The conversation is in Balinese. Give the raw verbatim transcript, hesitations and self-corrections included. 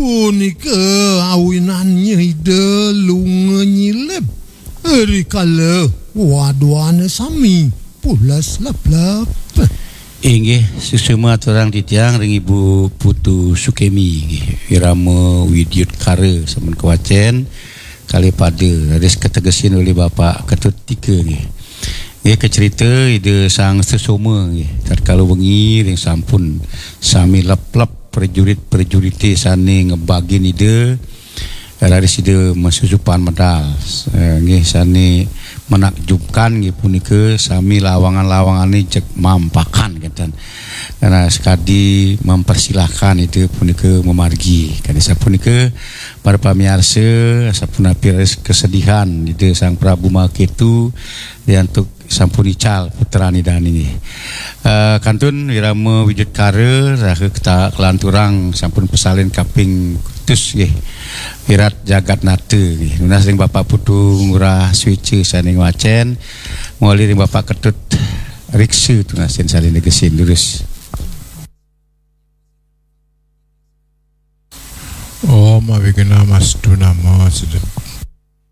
Punika awinannya Ida lunga nyilib. Rikala wadwana sami pulas leplep. Inggih, suksma aturang titiang ring Ibu Putu Sukemi, inggih. Irama Widyutkara sampun kawacen, kalih pada raris kategesin olih Bapak Ketut Tika, nggih. Nggih, kacerita Ida Sang Sesoma, nggih. Tatkala wengi ring sampun sami leplep prajurit-prajurite sane ngebagin Ida, raris Ida masusupan medal. Eh, nggih, sane menakjubkan nggih punika sami lawangan-lawangane jeg mampakan kenten. Karena sekadi mempersilahkan Ida punika memargi. Kadi sapunika, para pamiarsa, sapunapi raris kesedihan Ida Sang Prabu Mahaketu, riantuk sampun ical putran Ida niki. Eh, kantun irama Widyutkara saha keta-, kalanturang sampun pasalin kaping kutus nggih. Wirat Jagat Nata nggih. Nunas ring Bapak Putu Ngurah Swica sane ngwacen, mawali ring Bapak Ketut Riksa tunasin sane negesin durus. Om Awighnam Astu Nama Siddham.